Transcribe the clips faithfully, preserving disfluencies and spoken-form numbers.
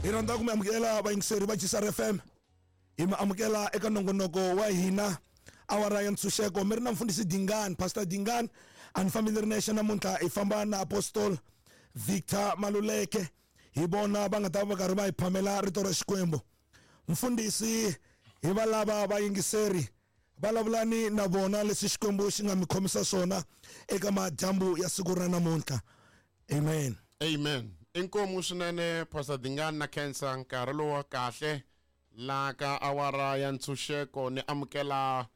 Hi rhandza ku mi amukela vayingiseri va G S R F M. Hi mi amukela eka nongonoko wa hina awara ya ntshunxeko. Mi ri na mfundhisi Dingani, Pastor Dingani. A ni fambi ni ri nexe namuntlha, hi famba na Apostle Victor Maluleke. Hi vona va nga ta va karhi va hi phamela rito ra Xikwembu. Mfundhisi, hi va lava vayingiseri vulavulani na vona leswi Xikwembu xi nga mi khomisa swona eka madyambu ya siku ra namuntlha. Amen. Amen. Inkomu swinene Pastor Dingani na khensa nkarhi lowu wa kahle la ka awara ya ntshunxeko. Ni amukela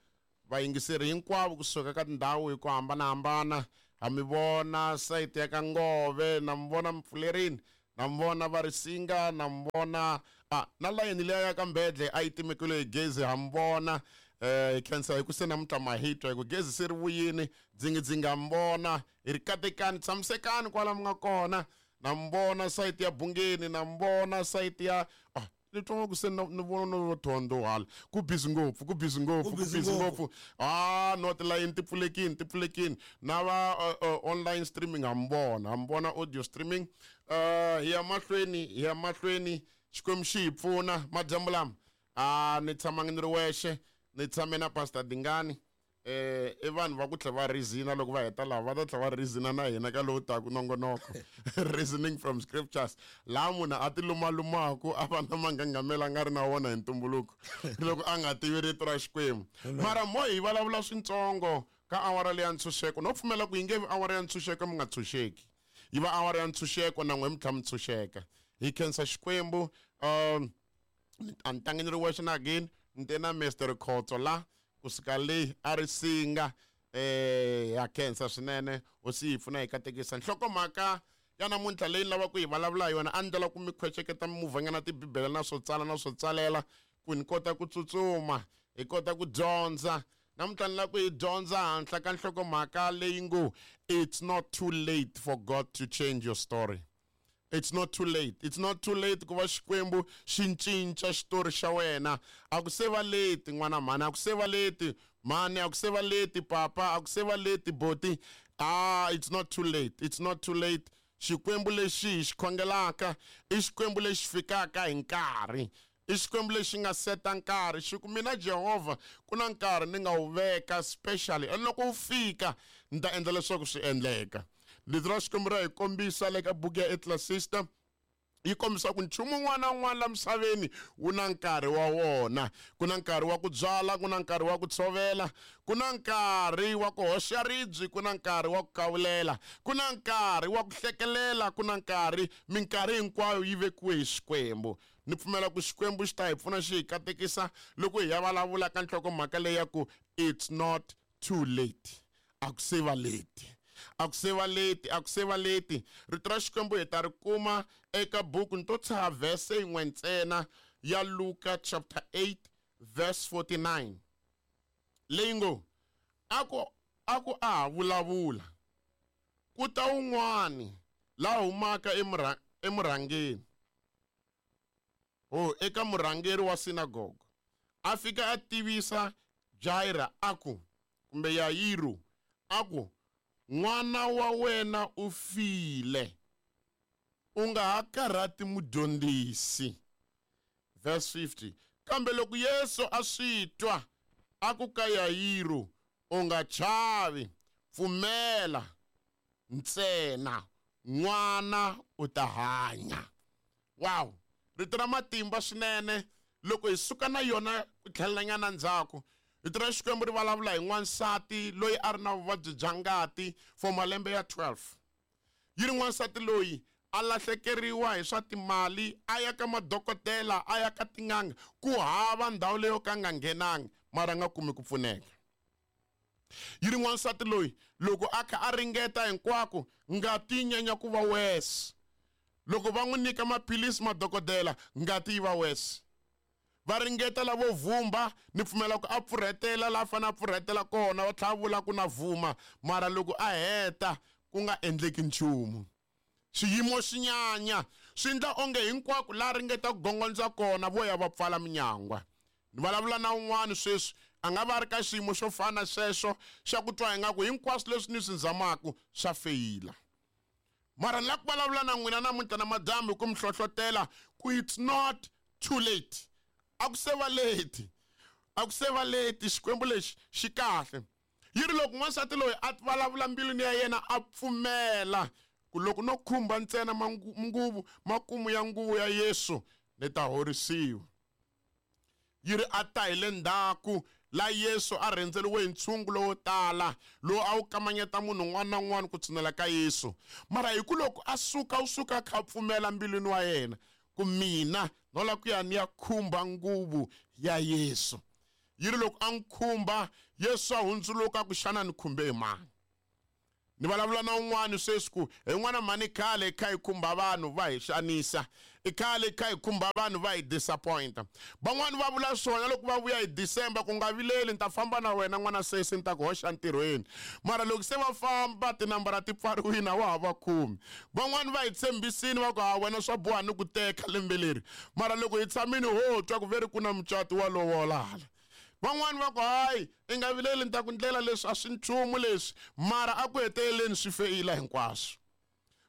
vayingiseri hinkwavo kusuka ka tindhawu hi ku hambanahambana. Ha mi vona sayiti ya ka Ngove, na mi vona Mpfulerini, na mi vona Varisinga, na mi vona ah, na layeni liya ya ka Mbedle a yi timekile hi gezi, ha mi vona. Eh, hi khensa hi ku se namuntlha ma hi twa hi ku gezi se ri vuyini, dzingidzingi ha mi vona. Hi ri katekani, tshamisekani kwala mi nga kona. Na mi vona sayiti ya Bungeni, na mi vona sayiti ya ah, ni twa ku se ni vona no thondo hala. Ku busy ngopfu, ku busy ngopfu, ku busy ngopfu. Ah, no tilayini ti pfulekini, ti pfulekini. Na va uh, uh, online streaming ha mi vona, ha mi vona audio streaming. Uh, hi ya mahlweni, hi ya mahlweni. Xikwembu xi hi pfuna madyambu lama. Ah, ni tshamangi ni ri wexe, ni tshame na Pastor Dingani. Eh, i vanhu va ku tlhela va reason loko va heta laha, va ta tlhela va reason na hina ka lowu taka nongonoko. Reasoning from scriptures. Laha munhu a ti lumalumaku a va na mangangamela a nga ri na wona hi ntumbuluko loko a nga tivi rito ra Xikwembu. Mara mo hi vulavula swintsongo ka awara leya ntshunxeko. No pfumela ku yi nge vi awara ya ntshunxeko mi nga ntshunxeki, yi va awara ya ntshunxeko na n'we mi tlhela mi ntshunxeka. Hi khensa Xikwembu. Um, a ni tangi ni ri wexe na again, ni te na Mister Khotso la kusuka leyi a ri singa. Eh, ya khensa swinene, hosi yi pfuna hi katekisa. Nhlokomhaka ya namuntlha leyi ni lavaka ku yi vulavula hi yona, a ni ndlela ku mi khweceketa mimovhanyana tibibele na swo tsala na swo tsalela ku ni kota ku tsutsuma, hi kota ku dyondza. Namuntlha ni lava ku hi dyondza henhla ka nhlokomhaka leyi ngo it's not too late for God to change your story. It's not too late. It's not too late ku va Xikwembu xi cinca xitori xa wena. A ku se va late n'wana mhani, a ku se va late mhani, a ku se va late papa, a ku se va late boti. Ah, it's not too late. It's not too late. Xikwembu lexi hi xi khongelaka i Xikwembu lexi fikaka hi nkarhi. I Xikwembu lexi nga seta nkarhi. Xi ku mina Jehovha ku na nkarhi ni nga wu veka specially, and loko wu fika ni ta endla leswaku swi endleka. Rito ra Xikwembu ra hi kombisa le ka buku ya Ecclesiastes, yi kombisa ku nchumu wun'wana na wun'wana la misaveni wu na nkarhi wa wona. Ku na nkarhi wa ku byala, ku na nkarhi wa ku tshovela, ku na nkarhi wa ku hoxa ribye, ku na nkarhi wa ku kawulela, ku na nkarhi wa ku hlekelela, ku na nkarhi. Minkarhi hinkwayo yi vekiwe hi Xikwembu. Ni pfumela ku Xikwembu xi ta hi pfuna xi hi katekisa loko hi ya vulavula ka nhlokomhaka leyi ya ku it's not too late. A ku se va late. A ku se va late, a ku se va late. Rito ra Xikwembu hi ta ri kuma eka buku, ni to tshaha verse yin'we ntsena ya Luka chapter eight verse forty-nine. Leyi ngo, a ku, a ku a ha vulavula, ku ta un'wani la humaka emurha-, emurhangeni. Oh, eka murhangeri wa sinagogo. A fika a tivisa Jaira a ku, kumbe Yairo a ku, n'wana wa wena u file, u nga ha karhati mudyondzisi. Verse fifty. Kambe loko Yesu a swi twa, a ku ka Yairo, u nga chavi, pfumela ntsena, n'wana u ta hanya. Wow, rito ra matimba swinene. Loko hi suka na yona ku tlhelelanyana ndzhaku, rito ra Xikwembu ri vulavula hi n'wansati loyi a ri na vuvabyi bya ngati for malembe ya twelve. Yi ri n'wansati loyi a lahlekeriwa hi swa timali, a ya ka madokodela, a ya ka tin'anga, ku hava ndhawu leyo ka nga nghenangi, mara a nga kumi ku pfuneka. Yi ri n'wansati loyi loko a kha a ringeta hinkwako, ngati yi nyanya ku va worse. Loko va n'wi nyika maphilisi madokodela, ngati yi va worse. Va ringeta lavo vhumba, ni pfumela ku a pfurhetela la fanele a pfurhetela kona, va tlhela va vula ku na vhuma, mara loko a heta ku nga endleki nchumu. Xiyimo xi nyanya, swi endla onge hinkwako la ringeta ku gongondza kona vo ya va pfala minyangwa. Ni vulavula na un'wana sweswi a nga va ri ka xiyimo xo fana sweswo xa ku twa ingaku hinkwaswo leswi ni swi zamaku swa feyila. Mara ni la ku vulavula na n'wina namuntlha na madyambu hi ku mi hlohlotela ku it's not too late. A ku se va late. A ku se va late. Xikwembu lexi xi kahle. Yi ri loko n'wansati loyi a vulavula mbilwini ya yena a pfumela ku loko no khumba ntsena nguvu makumu ya nguvu ya Yesu ni ta horisiwa. Yi ri a ta hi le ndzhaku la Yesu a rhendzeriwe hi ntshungu lowo tala lowu a wu kamanyeta munhu un'wana na un'wana ku tshinela ka Yesu. Mara hi ku loko a suka u suka a kha a pfumela mbilwini wa yena ku mina no la ku ya ni ya khumba nguvu ya Yesu. Yi ri loko a n'wi khumba Yesu a hundzuluka ku xana ni khumbe hi mani. Ni vulavula na un'wana sweswi ku hi n'wana mhani khale hi kha hi khumba vanhu va hi xanisa, i khale hi kha hi khumba vanhu va hi disappointa. Van'wani va vula swona loko va vuya hi December ku nga vileli ni ta famba na wena n'wana sesi ni ta ku hoxa ntirhweni. Mara loko se va famba tinambara ti pfariwile a wa ha va khumi. Van'wani va hi tshembisini va ku ha wena swa boha ni ku teka lembe leri. Mara loko hi tshamile ho twa ku ve ri ku na mucato wa lovola hala. Van'wani va ku hayi i nga vileli ni ta ku ndlela leswi a swi nchumu leswi, mara a ku heteleleni swi feyila hinkwaswo.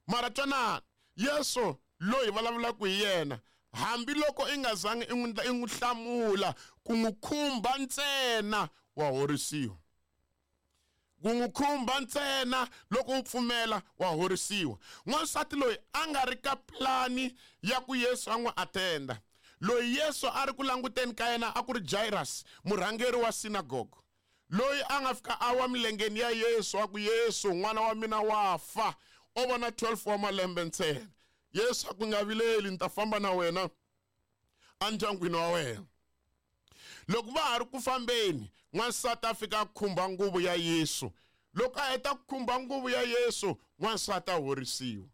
Mara twanani, Yesu loyi vulavulaka hi yena hambiloko i nga zangi i n'wi i n'wi hlamula ku n'wi khumba ntsena wa horisiwa. Ku n'wi khumba ntsena loko u pfumela wa horisiwa. N'wansati loyi a nga ri ka plani ya ku Yesu a n'wi attenda. Loyi Yesu a ri ku languteni ka yena a ku ri Jairus, murhangeri wa synagogue. Loyi a nga fika a wa milengeni ya Yesu a ku Yesu n'wana wa mina wa fa, o vona twelve wa malembe ntsena. Yesu a ku nga vileli ni ta famba na wena endyangwini wa wena. Loko va ha ri ku fambeni, n'wansati a fika a khumba nguvu ya Yesu. Loko a heta ku khumba nguvu ya Yesu, n'wansati a horisiwa.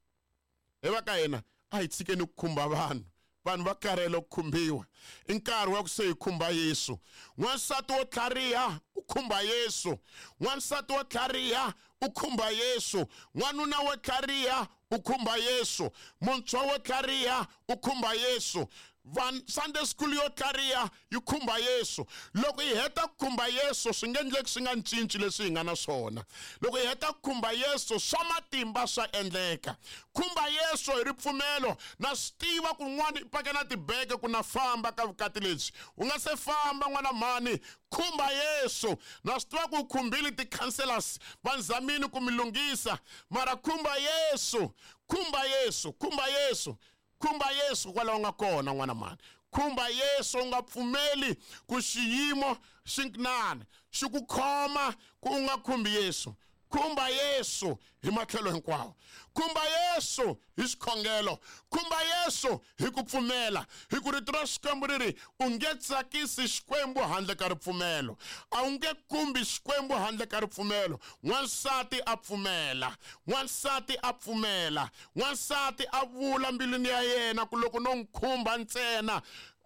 Hi va ka yena a hi tshikeni ku khumba vanhu. Vanhu va karhele ku khumbiwa. I nkarhi wa ku se hi khumba Yesu. N'wansati wo tlhariha u khumba Yesu. N'wansati wo tlhariha u khumba Yesu. N'wanuna wo tlhariha u khumba Yesu. Muntshwa wo tlhariha u khumba Yesu. Van Sunday school yo tlhariha yi khumba Yesu. Loko hi heta ku khumba Yesu swi nge endleki swi nga cinci leswi hi nga na swona. Loko hi heta ku khumba Yesu swa matimba swa endleka. Khumba Yesu hi ripfumelo na swi tiva ku n'wana i paka na tibeke ku na famba ka vukati lebyi. U nga se famba n'wana mhani, khumba Yesu. Na swi tiva ku u khumbile ti-counselors va nzamini ku mi lunghisa, mara khumba Yesu, khumba Yesu, khumba Yesu. Khumba Yesu kwalaho nga kona n'wana mhani. Khumba Yesu u nga pfumeli ku xiyimo xin'wana xi ku khoma ku u nga khumbi Yesu. Khumba Yesu hi matlhelo hinkwawo. Khumba Yesu hi xikhongelo. Khumba Yesu hi ku pfumela. Hi ku rito ra Xikwembu ri ri u nge tsakisi Xikwembu handle ka ripfumelo. A wu nge khumbi Xikwembu handle ka ripfumelo. N'wansati a pfumela. N'wansati a pfumela. N'wansati a vula mbilwini ya yena ku loko no n'wi khumba ntsena.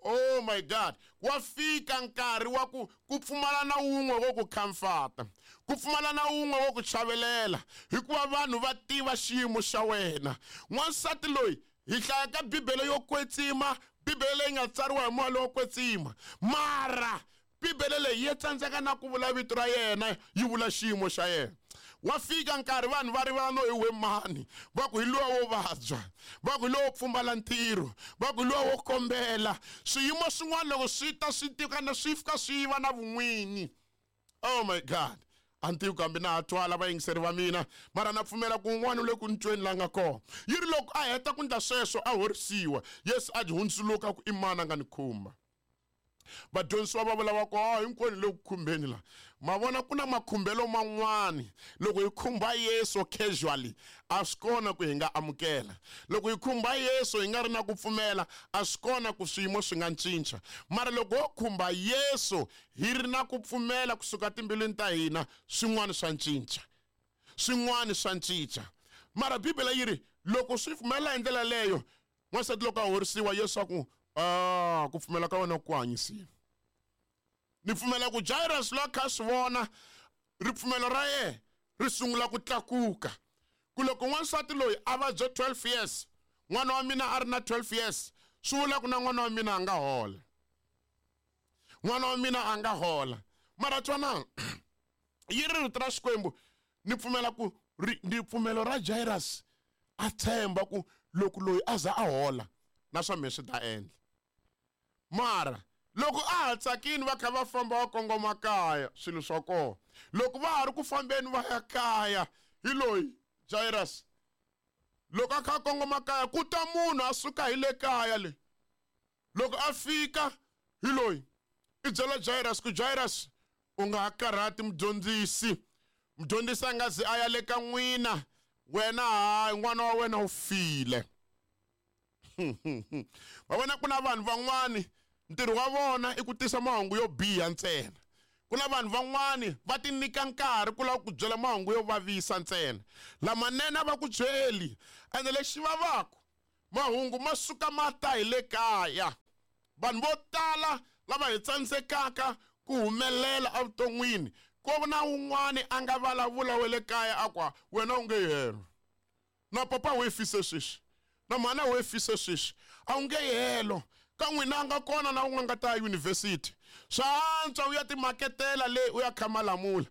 Oh my God, wa fika nkarhi wa ku ku pfumala na wun'we wo ku comforta, ku pfumala na wun'we wo ku chavelela, hikuva vanhu va tiva xiyimo xa wena. N'wansati loyi hi hlaya ka Bibele yo kwetsima, Bibele leyi nga tsariwa hi moya lowo kwetsima, mara Bibele leyi yi tsandzeka na ku vula vito ra yena, yi vula xiyimo xa yena. Wa fika nkarhi vanhu va rivala no hi we mani, va ku hi luwa wo vabya, va ku hi luwa wo pfumala ntirho, va ku hi luwa wo kombela. Swiyimo swin'wana loko swi ta swi tika na swi fika swi va na vun'wini. Oh my God, a ni tivi kambe na ha twala vayingiseri va mina, mara na pfumela ku un'wana u le ku ni tweni la nga kona. Yi ri loko a heta ku endla sweswo a horisiwa, Yesu a hundzuluka ku i mani a nga ni khumba. Vadyondzisiwa va vula va ku ha hinkwenu le ku khumbeni la. Ma vona ku na makhumbelo man'wani loko hi khumba Yesu casually a swi kona ku hi nga amukela. Loko hi khumba Yesu hi nga ri na ku pfumela a swi kona ku swiyimo swi nga cinca. Mara loko ho khumba Yesu hi ri na ku pfumela kusuka timbilwini ta hina, swin'wana swa cinca. Swin'wana swa cinca. Mara Bibele yi ri loko swi pfumela hi ndlela leyo, n'wansati loko a horisiwa Yesu a ku ah, ku pfumela ka wena ku hanyisiwa. Ni pfumela ku Jairus loyi a kha a swi vona ripfumelo ra yena ri sungula ku tlakuka. Ku loko n'wansati loyi a vabya twelve years, n'wana wa mina a ri na twelve years, swi vula ku na n'wana wa mina a nga hola. N'wana wa mina a nga hola. Mara twanana, yi ri rito ra Xikwembu, ni pfumela ku ri ripfumelo ra Jairus A tshemba ku loko loyi a za a hola na swa mina swi ta endla. Mara loko a ha tsakini va kha va famba va kongoma kaya swilo swa kona. Loko va ha ri ku fambeni va ya kaya hi loyi Jairus. Loko a kha a kongoma kaya ku ta munhu a suka hi le kaya le. Loko a fika hi loyi i byela Jairus ku Jairus u nga ha karhati mudyondzisi. Mudyondzisi a nga zi a ya le ka n'wina wena hayi n'wana wa wena u file. Va vona ku na vanhu van'wani ntirho wa vona i ku tisa mahungu yo biha ntsena. Ku na vanhu van'wani va ti nyika nkarhi ku lava ku byela mahungu yo vavisa ntsena. Lamanene a va ku byeli ene lexi vavaka mahungu ma suka ma ta hi le kaya. Vanhu vo tala lava hi tsandzekaka ku humelela evuton'wini ko na un'wani a nga vulavula wa le kaya a ku wena u nge helo. Na papa we fise sweswi. Na mhana we fise sweswi. A wu nge helo. Ka n'wina a nga kona na un'we nga ta university. Swa antswa u ya timaketela le u ya kha malamula.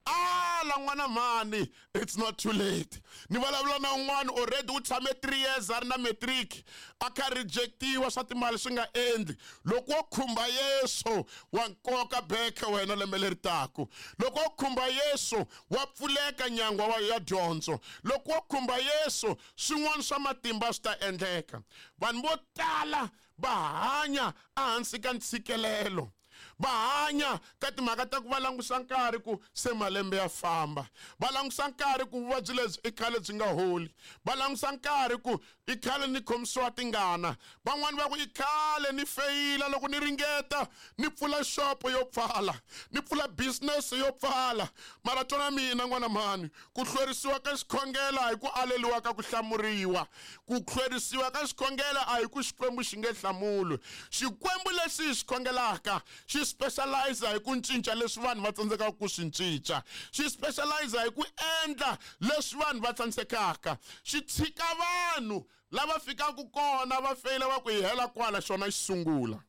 Ala n'wana mhani, it's not too late. Ni vulavula na un'wana already u tshame three years a ri na matric a kha rejectiwa swa timali swi nga endli. Loko wo khumba Yesu wa nkoka beke wena lembe leri taku. Loko wo khumba Yesu wa pfuleka nyangwa wa ya dyondzo. Loko wo khumba Yesu swin'wana swa matimba swi ta endleka. Vanhu vo tala va hanya ehansi ka ntshikelelo. Va hanya ka timhaka ta ku va langusa nkarhi ku se malembe ya famba. Va langusa nkarhi ku vuvabyi lebyi i khale byi nga holi. Va langusa nkarhi ku i khale ni khomisiwa tingana. Van'wani va ku i khale ni feyila loko ni ringeta ni pfula xopo yo pfala, ni pfula business yo pfala. Mara twana mina n'wana mhani, ku hlwerisiwa ka xikhongelo a hi ku aleliwa ka ku hlamuriwa. Ku hlwerisiwa ka xikhongelo a hi ku Xikwembu xi nge hlamuli. Xikwembu lexi hi xi khongelaka xi specialize hi ku cinca leswi vanhu va tsandzekaka ku swi cinca. Xi specialize hi ku endla leswi vanhu va tsandzekaka. Xi tshika vanhu lava fikaka kona va feyila va ku hi hela kwala xona xi sungula.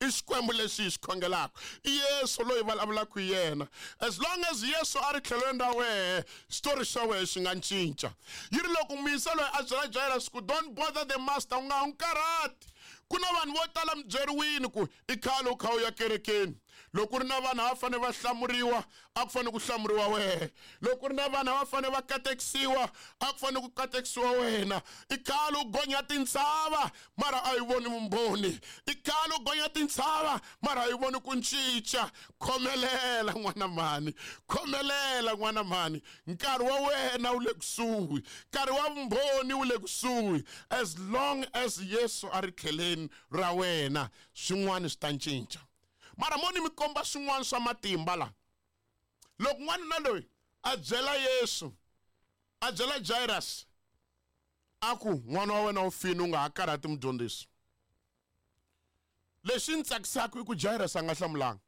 I Xikwembu lexi hi xi khongelaka. I Yesu loyi vulavulaka hi yena. As long as Yesu a ri tlhelweni ra wehe, xitori xa wehe xi nga cinca. Yi ri loko muyisa loyi a byela Jairus ku don't bother the master, u nga n'wi karhati. Ku na vanhu vo tala mi byeriwini ku i khale u kha u ya kerekeni. Loko ku ri na vanhu a va fanele va hlamuriwa, a ku fanele ku hlamuriwa wehe. Loko ku ri na vanhu a va fanele va katekisiwa, a ku fanele ku katekisiwa wena. I khale u gonya tintshava, mara a yi voni vumbhoni. I khale u gonya tintshava, mara a yi voni ku cinca. Khomelela n'wana mhani, khomelela n'wana mhani. Nkarhi wa wena wu le kusuhi, nkarhi wa vumbhoni wu le kusuhi. As long as Yesu a ri tlheleni ra wena, swin'wana swi ta cinca. Mara mo ni mi komba swin'wana swa matimba la. Loko n'wanuna loyi a byela Yesu, a byela Jairus, a ku n'wana wa wena u fini u nga ha karhati mudyondzisi. Lexi ni tsakisaka i ku Jairus a nga hlamulanga.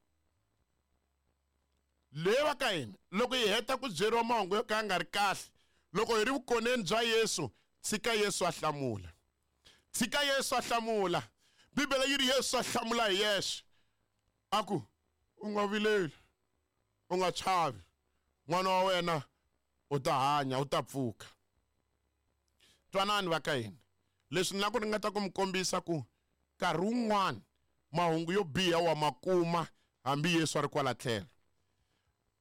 Le va ka hina loko hi heta ku byeriwa mahungu yo ka ya nga ri kahle, loko hi ri vukoneni bya Yesu, tshika Yesu a hlamula. Tshika Yesu a hlamula. Bibele yi ri Yesu a hlamula hi yexe. A ku u nga vileli, u nga chavi, n'wana wa wena u ta hanya, u ta pfuka. Twanani va ka hina, leswi ni lava ku ringeta ku mi kombisa ku nkarhi wun'wani mahungu yo biha wa ma kuma hambi Yesu a ri kwala tlhelo.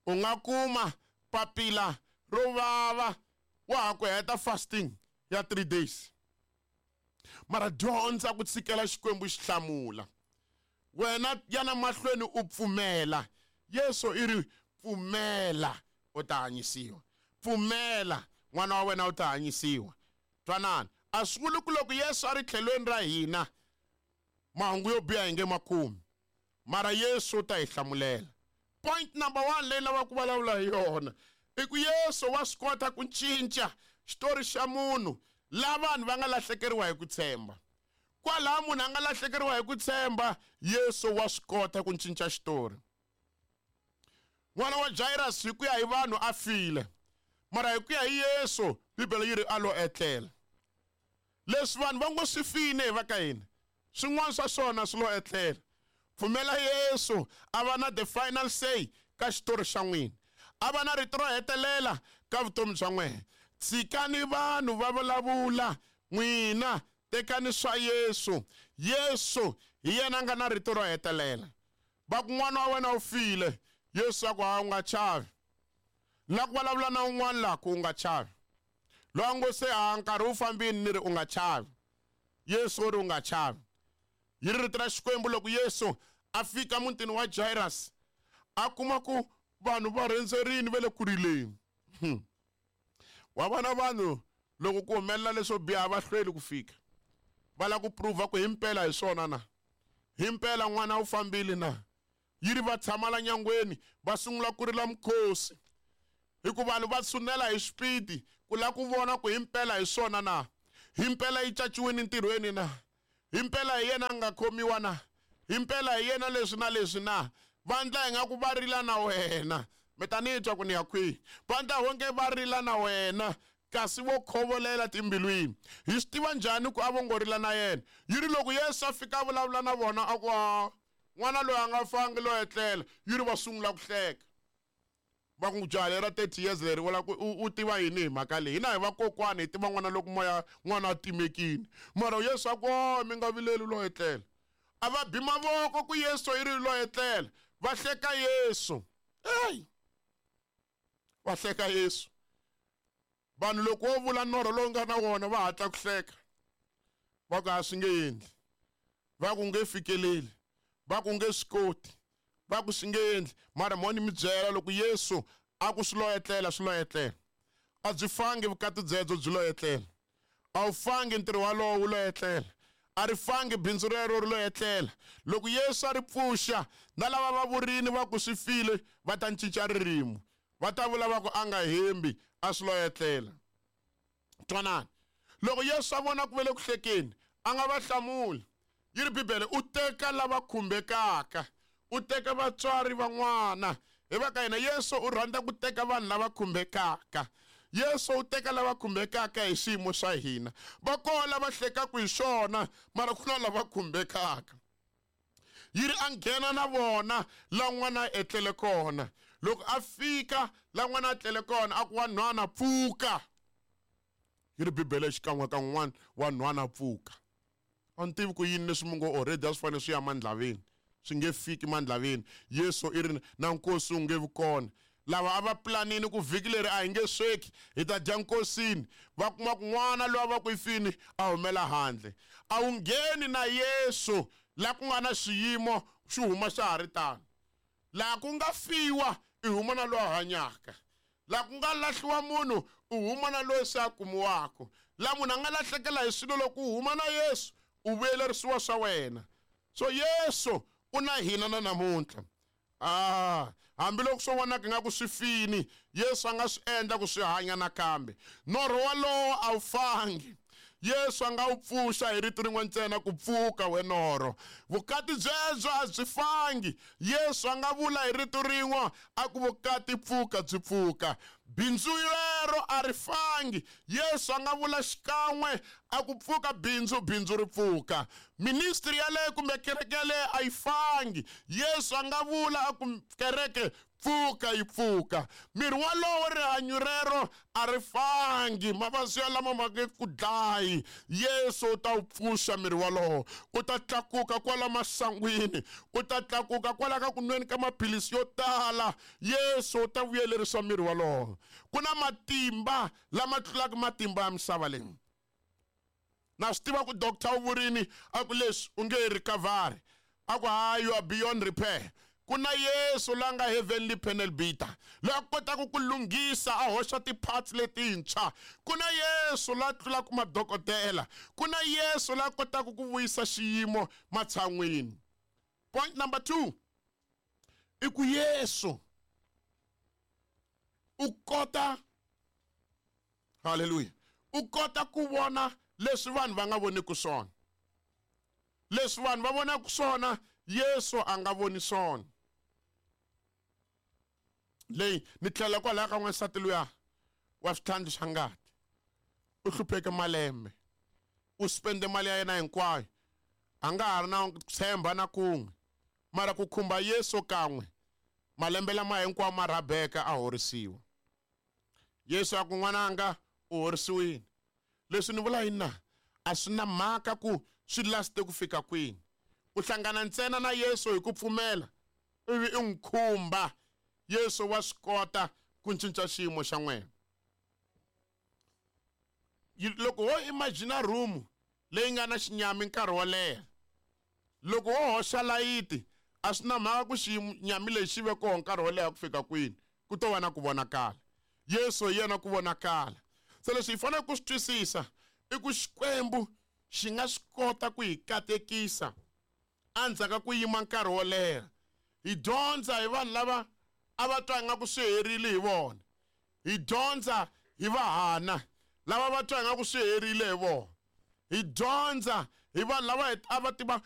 U nga kuma papila ro vava wa ha ku heta fasting ya three days. Mara dyondza ku tshikela Xikwembu xi hlamula. Wena yana mahlweni u pfumela. Yesu i ri pfumela u ta hanyisiwa. Pfumela n'wana wa wena u ta hanyisiwa. Twanani, a swi vuli ku loko Yesu a ri tlhelweni ra hina mahungu yo biha hi nge ma kumi. Mara Yesu u ta hi hlamulela. Point number one leyi lavaka ku vulavula hi yona i ku Yesu wa swi kota ku cinca xitori xa munhu la vanhu va nga lahlekeriwa hi ku tshemba. Kwalaho munhu a nga lahlekeriwa hi ku tshemba, Yesu wa swi kota ku cinca xitori. N'wana wa Jairus hi ku ya hi vanhu a file, mara hi ku ya hi Yesu Bibele yi ri a lo etlela. Leswi vanhu va ngo swi file hi va ka hina, swin'wana swa swona swi lo etlela. Pfumela Yesu a va na the final say ka xitori xa n'wina, a va na rito ro hetelela ka vutomi bya n'wina. Tshikani vanhu va vulavula, n'wina tekani swa Yesu. Yesu hi yena a nga na rito ro hetelela. Va ku n'wana wa wena u file, Yesu a ku ha u nga chavi. La ku vulavula na un'wana la ku u nga chavi. Loyi a ngo se a nkarhi wu fambini ni ri u nga chavi. Yesu u ri u nga chavi. Yi ri rito ra Xikwembu loko Yesu a fika mutini wa Jairus, a kuma ku vanhu va rhendzerini va le ku rileni. Hmm. Wa vona vanhu loko ku humelela leswo biha va hlweli ku fika. Va lava ku prova ku himpela hi swona na. Himpela n'wana u fambile na. Yi ri va tshama la nyangweni va sungula ku rila mukhosi. Hikuva vanhu va tshunela hi xipidi ku lava ku vona ku himpela hi swona na. Himpela yi caciwile ntirhweni na. Himpela hi yena a nga khomiwa na. Himpela hi yena leswi na leswi na. Va ndla ingaku va rila na wena. Mi ta ni twa ku ni ya kwihi. Va ndla onge va rila na wena, kasi vo khovolela timbilwini. Hi swi tiva njhani ku a vo ngo rila na yena? Yi ri loko Yesu a fika a vulavula na vona a ku a n'wana loyi a nga fangi lo etlela, yi ri va sungula ku hleka. Va ku jaha lera thirty years leri vula ku u, u tiva yini hi mhaka leyi? Hina hi vakokwani hi tiva n'wana loko moya n'wana a timekile. Mara Yesu a ku o mi nga vileli lo etlela. A va bi mavoko ku Yesu yi ri lo etlela. Va hleka Yesu. Hey! Va hleka Yesu. Vanhu loko wo vula norho lowu nga na wona va hatla ku hleka. Va ku a swi nge endli. Va ku nge fikeleli. Va ku nge swi koti. Va ku swi nge endli. Mara mo ni mi byela loko Yesu a ku swi lo etlela, swi lo etlela. A byi fangi vukati byebyo byi lo etlela. A wu fangi ntirho walowo wu lo etlela. A ri fangi bindzu rero ri lo etlela. Loko Yesu a ri pfuxa, na lava va vurini va ku swi file, va ta cinca ririmi. Va ta vula va ku a nga hembi, a swi lo etlela. Twanani. Loko Yesu a vona ku ve le ku hlekeni, a nga va hlamuli. Yi ri Bibele, u teka lava khumbekaka, u teka vatswari van'wana. Hi va ka hina Yesu u rhandza ku teka vanhu lava khumbekaka. Yesu u teka lava khumbekaka hi xiyimo xa hina. Va kona lava hlekaka hi xona, mara ku na lava khumbekaka. Yi ri a nghena na vona la n'wana a etlele kona. Loko a fika la n'wana a tlele kona, a ku wa nhwana pfuka. Yi ri Bibele xikan'we ka n'wana wa nhwana pfuka. A ni tivi ku yini leswi mi ngo already a swi fanele swi ya mandlaveni. Swi nge fiki mandlaveni. Yesu i ri na nkosi wu nge vi kona. Lava a va planini ku vhiki leri a hi nge sweki, hi ta dya nkosini. Va kuma ku n'wana loyi a va ku i fini a humela handle. A wu ngheni na Yesu la ku nga na xiyimo xi huma xa ha ri tano. Laha ku nga fiwa i huma na loyi a hanyaka. Laha ku nga lahliwa munhu u huma na loyi se a kumiwaka. Laha munhu a nga lahlekela hi swilo loko u huma na Yesu u vuyelerisiwa swa wena. So Yesu u na hina na namuntlha. Ah, hambiloko swo vonaka ingaku swi fini, Yesu a nga swi endla ku swi hanya nakambe. Norho walowo a wu fangi. Yesu a nga wu pfuxa hi rito rin'we ntsena ku pfuka we norho. Vukati byebyo a byi fangi. Yesu a nga vula hi rito rin'we a ku vukati pfuka byi pfuka. Bindzu rero a ri fangi. Yesu a nga vula xikan'we a ku pfuka bindzu, bindzu ri pfuka. Ministry yaleyo kumbe kereke yaleyo a yi fangi. Yesu a nga vula a ku kereke pfuka yi pfuka. Miri walowo rihanyo rero a ri fangi. Mavabyi lama ma nge ku dlayi. Yesu u ta wu pfuxa miri walowo. U ta tlakuka kwala masangwini. U ta tlakuka kwala ka ku nweni ka maphilisi yo tala. Yesu u ta vuyelerisa miri walowo. Ku na matimba lama tlulaka matimba ya misava leyi. Na swi tiva ku doctor u vurini a ku leswi u nge recovery. A ku hayi, you are beyond repair. Ku na Yesu la nga heavenly panel beater, loyi a kotaka ku lunghisa a hoxa ti-parts letintshwa. Ku na Yesu la tlulaka madokodela. Ku na Yesu la kotaka ku vuyisa xiyimo matshan'wini. Point number two, i ku Yesu u kota, hallelujah, u kota ku vona leswi vanhu va nga voniki swona. Leswi vanhu va vonaka swona, Yesu a nga voni swona. Leyi ni tlhela kwalaya ka n'wansati luya wa switlhandlu swa ngati. U hlupheke malembe. U spende mali ya yena hinkwayo. A nga ha ri na ku tshemba na kun'we. Mara ku khumba Yesu kan'we, malembe lama hinkwawo ma rhabeka a horisiwa. Yesu a ku n'wananga U horisiwile. Leswi ni vula yini na? A swi na mhaka ku swi laste ku fika kwini. U hlangana ntsena na Yesu hi ku pfumela, ivi i n'wi khumba. Yesu wa swi kota ku cinca xiyimo xa n'wena. Loko wo imagine room leyi nga na xinyami nkarhi wo leha, loko wo hoxa layiti, a swi na mhaka ku xinyami lexi xi ve kona nkarhi wo leha ku fika kwini, ku to va na ku vonakala. Yesu hi yena ku vonakala. Se leswi hi faneleke ku swi twisisa i ku Xikwembu xi nga swi kota ku hi katekisa endzhaku ka ku yima nkarhi wo leha. Hi dyondza hi vanhu lava a va twa ingaku swi herile hi vona. Hi dyondza hi vahana lava va twa ingaku swi herile hi vona. Hi dyondza hi vanhu lava a va tiva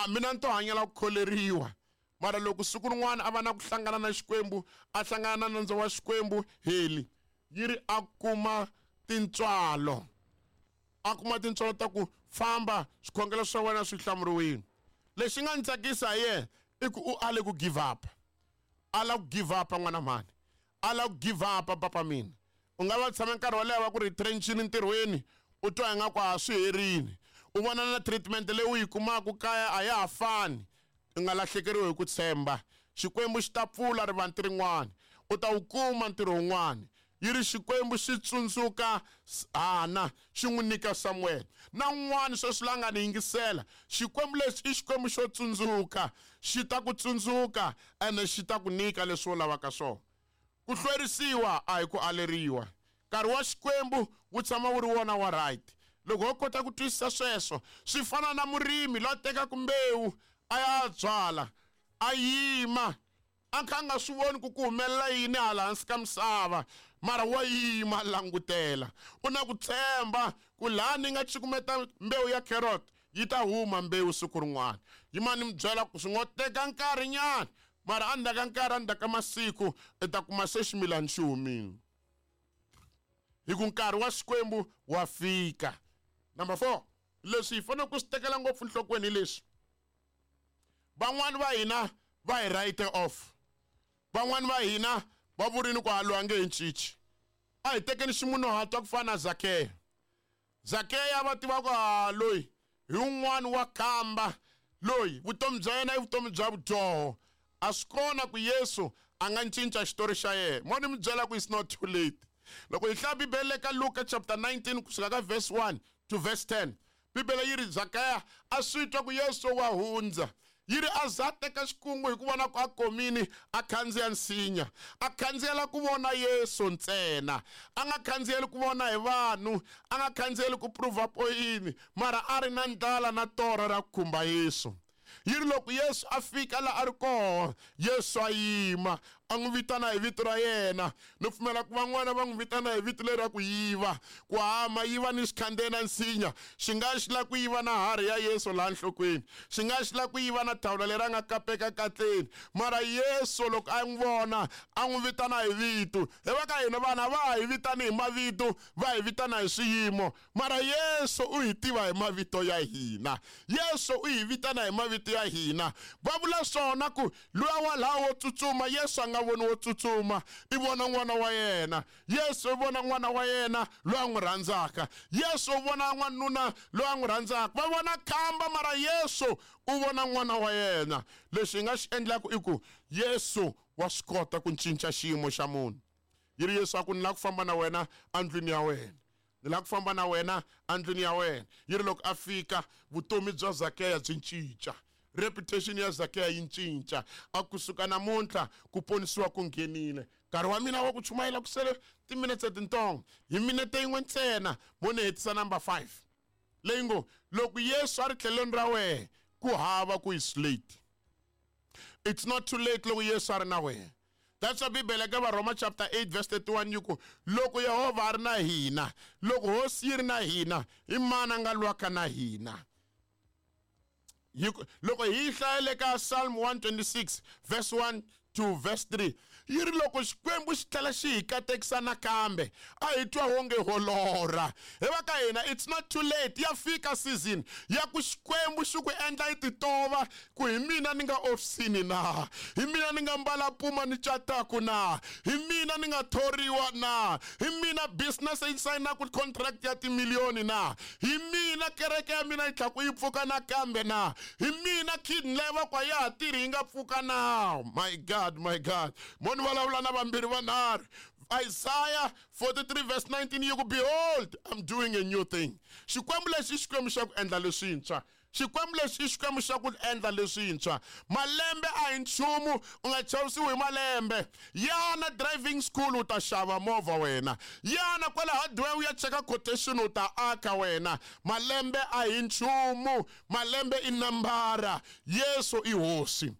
mina ni to hanyela ku kholeriwa. Mara loko siku rin'wana a va na ku hlangana na Xikwembu, a hlangana na nandzu wa Xikwembu, heli yi ri a kuma tintswalo. A kuma tintswalo ta ku famba swikhongelo swa wena swi hlamuriwile. Lexi nga ni tsakisa hi yena i ku u ale ku give up. Ala ku give up n'wana mhani. Ala ku give up papa mina. U nga va tshama nkarhi wo leha va ku retrenchini ntirhweni, u twa ingaku a swi herile. U vona na treatment leyi u yi kumaka kaya a ya ha fani. U nga lahlekeriwi hi ku tshemba. Xikwembu xi ta pfula rivanti rin'wana. U ta wu kuma ntirho wun'wana. Yi ri Xikwembu xi tsundzuka Hana, xi n'wi nyika Samuel. Na un'wana sweswi la nga ni yingisela, Xikwembu lexi i Xikwembu xo tsundzuka. Xi ta ku tsundzuka ene xi ta ku nyika leswi u lavaka swona. Ku hlwerisiwa a hi ku aleriwa. Nkarhi wa Xikwembu wu tshama wu ri wona wa right. Loko ho kota ku twisisa sweswo, swi fana na murimi loyi a tekaka mbewu a ya byala, a yima, a kha a nga swi voni ku ku humelela yini hala hansi ka misava, mara wa yima a langutela. U na ku tshemba ku laha ni nga cukumeta mbewu ya carrot yi ta huma mbewu siku rin'wana. Yima ni mi byela ku swi ngo teka nkarhinyana, mara endzhaku ka nkarhi, endzhaku ka masiku, i ta kuma se ximilana xi humile. Hi ku nkarhi wa Xikwembu wa fika. Number four, leswi hi faneleke ku swi tekela ngopfu enhlokweni hi leswi. Van'wani va hina va hi write off. Van'wani va hina va vurini ku a loyi a nge hi cinci. A hi tekeni ximunhuhatwa ku fana na Zakeya. Zakeya va tiva ku a loyi hi un'wana wa khamba, loyi vutomi bya yena i vutomi bya vudyoho. A swi kona ku Yesu a nga cinca xitori xa yena. Mo ni mi byela ku it's not too late. Loko hi hlaya Bibele ka Luka chapter nineteen kusuka ka verse one to verse ten, Bibele yi ri Zakeya a swi twa ku Yesu wa hundza. Yi ri a za teka xikungu hi ku vona ku a komini a khandziya nsinya. A khandziyela ku vona Yesu ntsena. A nga khandziyeli ku vona hi vanhu, a nga khandziyeli ku prova poyini, mara a ri na ndlala na torha ra ku khumba Yesu. Yi ri loko Yesu a fika laha a ri kona, Yesu a yima, a n'wi vitana hi vito ra yena. Ni pfumela ku van'wana va n'wi vitana hi vito leri ra ku yiva, ku hama yiva ni xikhandziya na nsinya. Xi nga xi lava ku yiva na harhi ya Yesu laha nhlokweni. Xi nga xi lava ku yiva na thawula leri a nga kapeka katleni. Mara Yesu loko a n'wi vona, a n'wi vitana hi vito. Hi va ka hina vanhu a va ha hi vitani hi mavito, va hi vitana hi swiyimo. Mara Yesu u hi tiva hi mavito ya hina. Yesu u hi vitana hi mavito ya hina. Va vula swona ku luya wa laha wo tsutsuma, Yesu a nga voni wo tsutsuma, i vona n'wana wa yena. Yesu u vona n'wana wa yena loyi a n'wi rhandzaka. Yesu u vona n'wanuna loyi a n'wi rhandzaka. Va vona khamba, mara Yesu u vona n'wana wa yena. Leswi hi nga xi endlaka i ku Yesu wa swi kota ku cinca xiyimo xa munhu. Yi ri Yesu a ku ni lava ku famba na wena endlwini ya wena. Ni lava ku famba na wena endlwini ya wena. Yi ri loko a fika, vutomi bya Zakeya byi cinca. Reputation ya Zakeya yi cinca. A kusuka namuntlha ku ponisiwa ku nghenile. Nkarhi wa mina wa ku chumayela ku sele timinetse tintsongo. Hi minete yin'we ntsena mo ni hetisa number five. Leyi ngo loko Yesu a ri tlhelweni ra wena, ku hava ku is late. It's not too late loko Yesu a ri na wena. That's why Bibele ka Varhoma chapter eight verse thirty-one yi ku loko Yehovha a ri na hina, loko hosi yi ri na hina, i mani a nga lwaka na hina? Loko hi hlayele ka Psalm one twenty-six verse one two verse three yi ri loko Xikwembu xi tlhela xi hi katekisa nakambe a hi twa wonge ho lorha hi va ka hina it's not too late ya fika season ya ku Xikwembu xi ku endla yi titova ku hi mina ni nga ofisini na hi mina ni nga mbala puma ni cataku na hi mina ni nga thoriwa na hi mina business yi sayinaku contract ya timiliyoni na hi mina kereke ya mina yi tlhaku yi pfuka nakambe na hi mina kidney leyi va kwa ya ha tirhi yi nga pfuka na. My God, my God, mo ni vulavula na vambirhi vanharhu. Isaiah forty-three verse nineteen yi ku behold, I'm doing a new thing. Xikwembu lexi i Xikwembu xa ku endla leswintshwa. Xikwembu lexi i Xikwembu xa ku endla leswintshwa. Malembe a hi nchumu, u nga chavisiwi hi malembe. Yana driving school u ta xava movha wena. Yana kwala hardware u ya cheka quotation u ta aka wena. Malembe a hi nchumu, malembe i nambara. Yesu i hosi.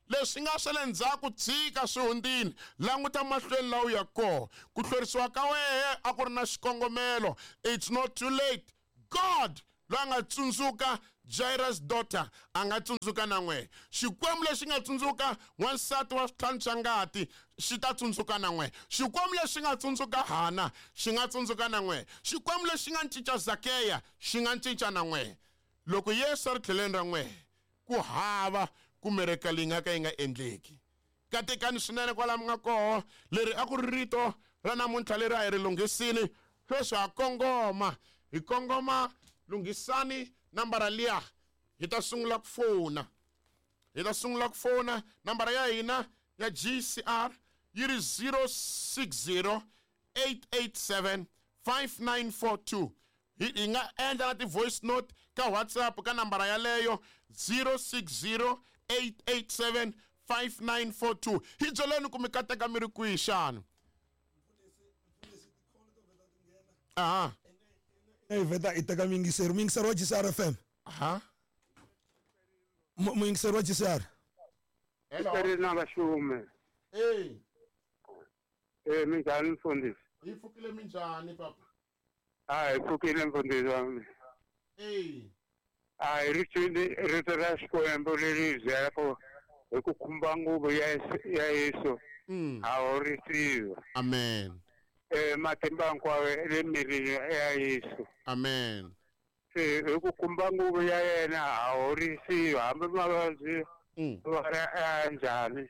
Leswi nga swa le ndzhaku tshika swi hundzile, languta mahlweni laha u ya kona. Ku hlwerisiwa ka wehe a ku ri na xikongomelo. It's not too late. God loyi a nga tsundzuka Jairus daughter a nga tsundzuka na n'we. Xikwembu lexi nga tsundzuka wansati wa switlhanu swa ngati xi ta tsundzuka na n'we. Xikwembu lexi nga tsundzuka Hana xi nga tsundzuka na n'we. Xikwembu lexi nga cinca Zakeya xi nga cinca na n'we. Loko Yesu a ri tlheleni ra n'we ku hava ku miracle yi nga ka yi nga endleki. Katekani swinene kwala mi nga koho. Leri a ku ri rito ra namuntlha leri a hi ri lunghisini. Sweswi ha kongoma, hi kongoma lunghisani nambara liya hi ta sungula ku fona. Hi ta sungula ku fona nambara ya hina ya G C R yi ri zero six zero eight eight seven five nine four two. Hi nga endla na ti-voice note ka WhatsApp ka nambara yaleyo zero six zero eight eight seven five nine four two. Hi byeleni ku mi kateka mi ri kwihi xana? Aha. Hi vheta hi teka muyingiseri. Muyingiseri wa G C R F M. Aha. Muyingiseri wa G C R. Hello. Na vaxume. Hey. Eh, minjhani mfundhisi? Hi pfukile minjhani papa? A hi pfukile mfundhisi wa mina. Hey. A hi ri twile rito ra Xikwembu leri hi byelaka hi ku khumba nguvu ya ya Yesu. A horisiwa. Amen. Eh, matimba hinkwawo le mirini ya Yesu. Amen. Se hi ku khumba nguvu ya yena a horisiwa hambi mavabyi va ri ya njhani.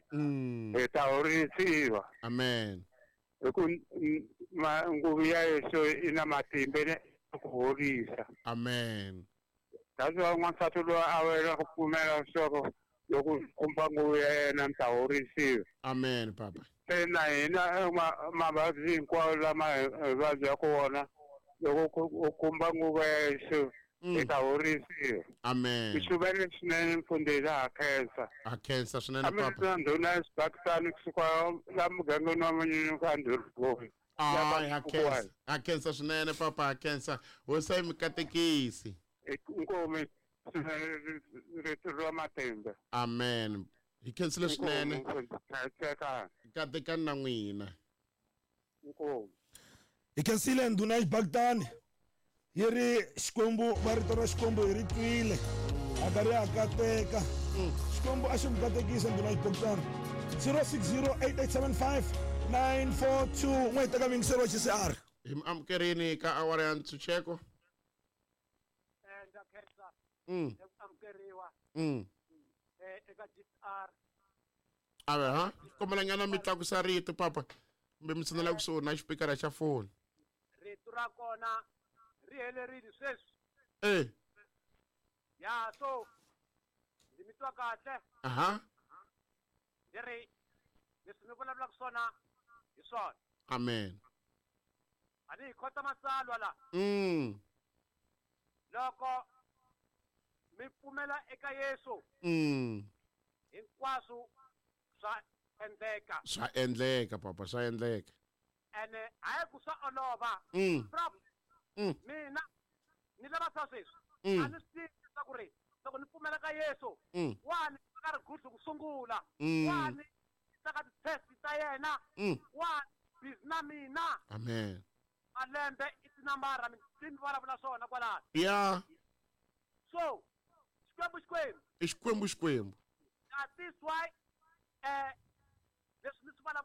Hi ta horisiwa. Amen. Hi ku nguvu ya Yesu i na matimba ya ku horisa. Amen. That's why n'wansati loyi a wela ku pfumela leswaku loko khumba nguvu ya yena mi ta horisiwa. Amen papa. Se na hina mavabyi hinkwawo lama hi vabyaka wona loko u khumba nguvu ya Yesu hi ta horisiwa. Amen. I xuvele swinene mfundhisi, ha khensa. Ha khensa swinene papa. A mi ri na ndhuna ya Xibakisani kusuka la mugangeni wa Manyunyu ka Ndhurugoni. Hayi, ha khensa. Ha khensa swinene papa, ha khensa. Hosi yi mi katekisi. Inkomu rito ra matimba. Amen. Hi khensile swinene. Katekani na n'wina. Inkomu. Hi khensile ndhuna ya Xibakisani. Yi ri Xikwembu va rito ra Xikwembu hi ri twile. A karhi a kateka. Xikwembu a xi mi katekisa ndhuna ya Xibakisani. zero six zero eight eight seven five nine four two. N'we hi teka muyingiseri wa G C R. Hi mi amukerini ka awara ya ntshunxeko. Ndza khensa Mm. eku amukeriwa Mm. eka G C R. Ave ha kombela nyana mi tlakusa rito papa kumbe mi tshinela kusuhi na xipikara xa foni. Rito ra kona ri helerile sweswi. Eh. Ya so ndzi mi twa kahle. Aha. Ndzi ri leswi mi vulavulaka swona hi swona. Amen. A ni hi khota matsalwa la. Mm. Loko mi pfumela eka Yesu. Mm. Hinkwaswo swa endleka. Swa endleka papa, swa endleka. Ene a hi ku swa olova. Mm. Mm. Mina ni lava swa sweswi. Mm. A ni swi tivi leswaku ri loko ni pfumela ka Yesu, Mm. wa ni ka rigudlu ku sungula. Mm. Wa ni ka ti-test ta yena. Mm. Wa busy na mina. Amen. Malembe i tinambara mi mi vulavula swona kwalano. Yeah. So Xikwembu Xikwembu. I Xikwembu Xikwembu. That is why eh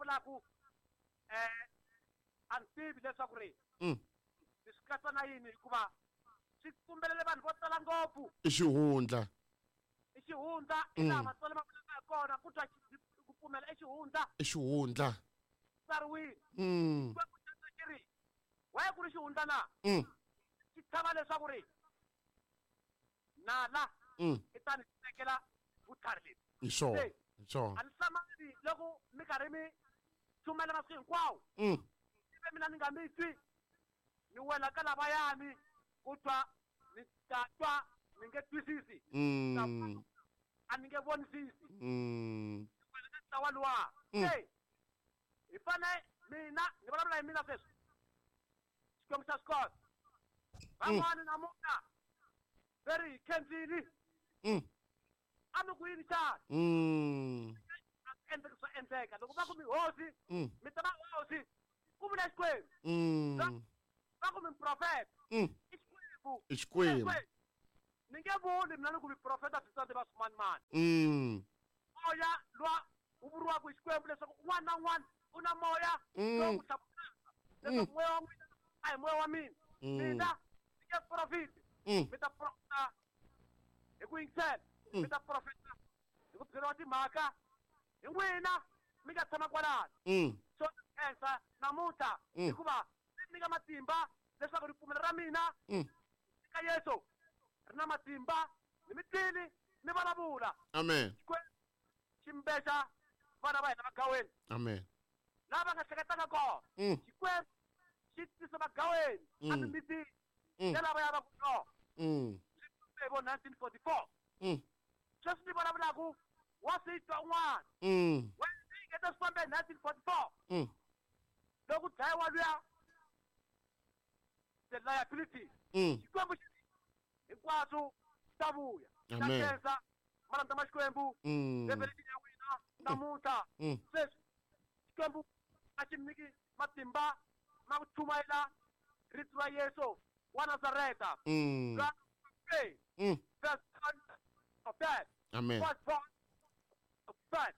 vulavulaka eh a ni tivi leswaku ri Mm. ni swi katsa na yini hikuva swi tumbelele vanhu vo tala ngopfu I xihundla. I xihundla i laha matswalo ma vulaka hi kona ku twa ku pfumela i xihundla. I xihundla. Tsariwile. Mm. Xikwembu xi ri waye ku ri xihundla na? Mm. Xi tshama leswaku ri nala Mm. i ta ni tekela vutlhari lebyi. Hi swona. Hi swona. A ni hlamali loko mi karhi mi chumayela masiku hinkwawo. Mm. Ivi mina ni nga mi twi ni wela ka lavayani ku twa ni ta twa ni nge twisisi. Mm. A ni nge vonisisi. Mm. Ni wela ka ntlawa luwa. Mm. Se hi fane mina ni vulavula hi mina sweswi. Xikwembu xa swi kota. Van'wani namuntlha va ri hi khensile. Mm. A mi ku yini xana? Mm. A swi endleki swa endleka. Loko va ku mi hosi, Mm. mi ta va hosi. Ku vula Xikwembu. Mm. Va ku mi profeta. Mm. I Xikwembu. I Xikwembu. Ni nge vuli mina ni ku mi profeta swi tsandze va swimanimani. Mm. Moya luwa wu vuriwaka hi Xikwembu leswaku un'wana na un'wana u na moya Mm. lowu ku hlamuselaka leswaku moya wa n'wina a hi moya wa mina. Mm. Mina ni nge profiti. Mm. Mi ta profeta hi ku yingisela. Mm. Mi ta profeta hi ku byeriwa timhaka hi n'wina mi nga tshama kwalano. Mm. So khensa namuntlha Mm. hikuva swi nyika matimba leswaku ripfumelo ra mina Mm. eka Yesu ri na matimba ni mi twile mi vulavula. Amen. Xikwembu xi mbexa vana va hina vagaweni. Amen. Lava nga hleketanga kona. Mm. Xikwembu xi tisa vagaweni Mm. emimitini Mm. ya lava ya va ku no. Mm. Swi vo nineteen forty-four. Mm. Sweswi ni vulavulaka wa swi twa un'wana. Mm. Wena swi ngeta swi fambe hi nineteen forty-four. Mm. Loko dlayiwa luya the liability. Mm. Xikwembu xi hinkwaswo swi ta vuya. Amen. Ta khensa malandza ma Xikwembu. Mm. Revelation ya n'wina namuntlha. Mm. Sweswi Xikwembu a xi mi nyiki matimba ma ku chumayela rito ra Yesu wa Nazareta. Mm. Ra three. Mm. Verse one of that. Amen. Verse one of that.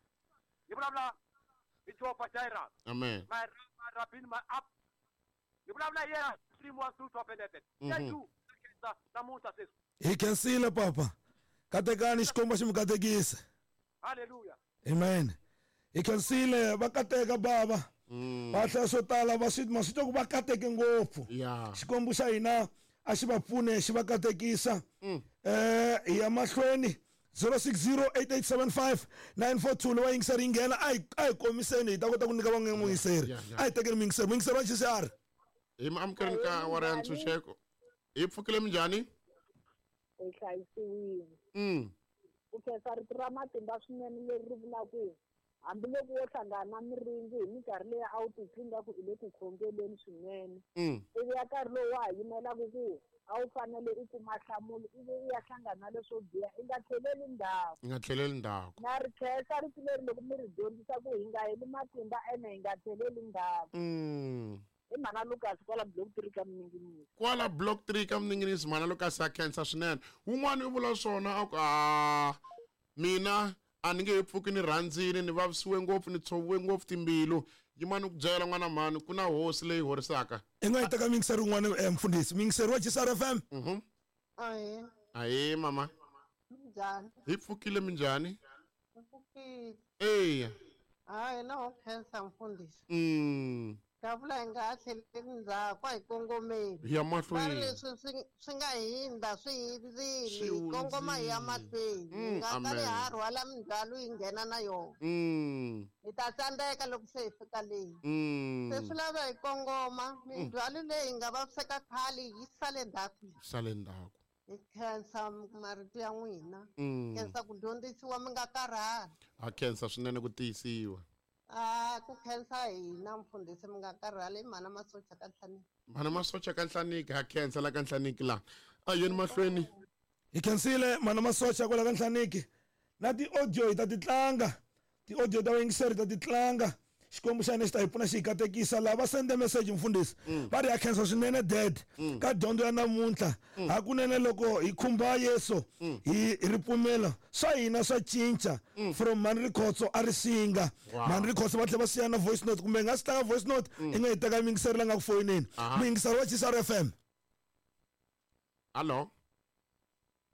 Yi vulavula hi Jehovah Jireh. Amen. My my Rabbi, my up. Yi vulavula hi yena three one two twelve eleven. Mhm. Thank you. Namuntlha sweswi. Hi khensile papa. Katekani Xikwembu xi mi katekisa. Hallelujah. Amen. Hi khensile va kateka baba. Mm. Va hlaya swo tala va swi ma swi twa ku va kateke ngopfu. Yeah. Xikwembu xa hina a xi va pfune xi va katekisa. Mm. Eh hi ya mahlweni zero six zero eight eight seven five nine four two lowa yingiseri yi nghena a hi a hi komiseni hi ta kota ku nyika van'we muyingiseri. Yeah, yeah. A hi tekeni muyingiseri. Muyingiseri wa G C R. Hi mi amukeleni ka awara ya ntshunxeko. Hi pfukile minjhani? Hi hlayisiwile. Mm. Ku khensa rito ra matimba swinene leri ri vulaka ku hambiloko wo hlangana na miringi hi minkarhi leyi a wu titwi ingaku i le ku khongeleni swinene. Mm. Ivi ya nkarhi lowu wa ha yimelaka ku a wu fanele u kuma nhlamulo ivi u ya hlangana na leswo biha i nga tlheleli ndzhaku. I nga tlheleli ndzhaku. Na ri khensa rito leri loko mi ri dyondzisa ku hi nga heli matimba ene hi nga tlheleli ndzhaku. Mm. Hi mhana Lucas kwala block three ka Mninginisi. Kwala block three ka Mninginisi mhana Lucas a khensa swinene. Wun'wani u vula swona a ku a mina a ni nge he pfuki ni rhandzile ni vavisiwe ngopfu ni tshoviwe ngopfu timbilu. Yimani ku byela n'wana mhani ku na hosi leyi horisaka. I nga yi teka muyingiseri wun'wana eh, mfundhisi. Muyingiseri wa G C R F M. Mhm. Ahee. Ahee mama. Minjhani? Hi pfukile minjhani? Hi pfukile. Eya. Hayi na ho khensa mfundhisi. Mm. Ka vula hi nga ha tlheleli ndzhaku a hi kongomeni. Hi ya Va ri mahlweni. leswi swi swi nga hindza swi hindzile Swi hi kongoma hi ya hundzile. mahlweni. Hi Mm, nga kali amen. ha rhwala mindzhwalo hi nghena na yona. Mm. Hi ta tsandzeka loko se hi fika le. Mm. Se swi lava hi kongoma mindzhwalo leyi hi nga vaviseka khale yi sale ndzhaku. Sale ndzhaku. Hi khensa marito ya n'wina. Mm. Khensa ku dyondzisiwa mi nga karhali. Ha khensa swinene ku tiyisiwa. Ah, ku khensa hina mfundhisi mi nga karhali mhana Masocha ka Nhlaniki. Mhana Masocha ka Nhlaniki ha khensa la ka Nhlaniki la. A yeni mahlweni. Hi khensile mhana Masocha kwala ka Nhlaniki. Na ti-audio hi ta ti tlanga. Ti-audio ta vayingiseri hi ta ti tlanga. Xikwembu xa hina xi ta hi pfuna xi hi katekisa. Lava sende message mfundhisi va ri ha khensa swinene dad ka dyondzo ya namuntlha. Hakunene loko hi khumba Yesu hi ripfumelo swa hina swa cinca. From Mhani Rikhotso a ri singa. Mhani Rikhotso va tlhela va siya na voice note, kumbe hi nga swi tlanga voice note i nga yi teka muyingiseri la nga ku foyineni. Muyingiseri wa G S R F M. Hallo.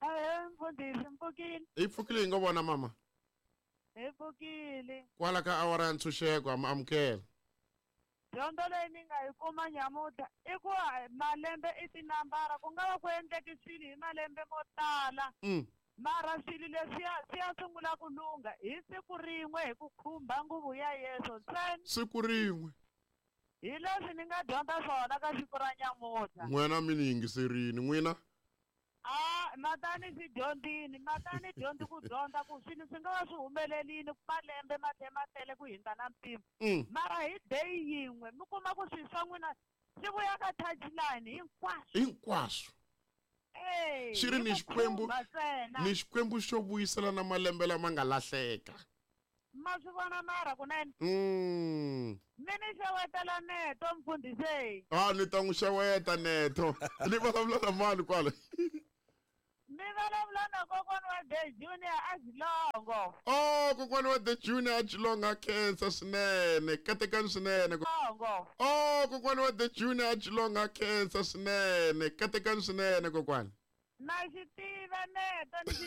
Ehe, mfundhisi, mpfukile. Hi pfukile, hi ngo vona mama. Hi pfukile. Kwala ka awara ya ntshunxeko ha mi amukela. Dyondzo leyi ni nga yi kuma nyamuntlha i ku ha- malembe i tinambara, ku nga va ku endleke swilo hi malembe mo tala, Mm. mara swilo leswiya swi ya sungula ku lungha hi siku rin'we hi ku khumba nguvu ya Yesu ntsena. Siku rin'we. Hi leswi ni nga dyondza swona ka siku ra nyamuntlha. N'wina mi ni yingiserini n'wina. A matani swi dyondzini, matani dyondzi ku dyondza ku swilo swi nga va swi humelelini malembe ma tlhe ma tele ku hindza na mpimo, Mm. mara hi day yin'we mi kuma ku swilo swa n'wina swi vuya ka touchline hinkwaswo. Hinkwaswo. Eh, Xi ri hi ni ku Xikwembu- khumba ntsena. Ni Xikwembu xo vuyisela na malembe lama nga lahleka. Ma swi vona mara kunene. Mm. Mi ni xewetela neto mfundhisi. A ni ta n'wi xeweta neto. Ni vulavula na mani kwala? Mi vulavula na kokwana wa The Junior a Xilongo. Oh, kokwana wa The Junior a Xilongo, a khensa swinene, katekani swinene. Longo. Oh, kokwana wa The Junior a Xilongo, a khensa swinene, katekani swinene kokwana. Na xi tiva neto ni xi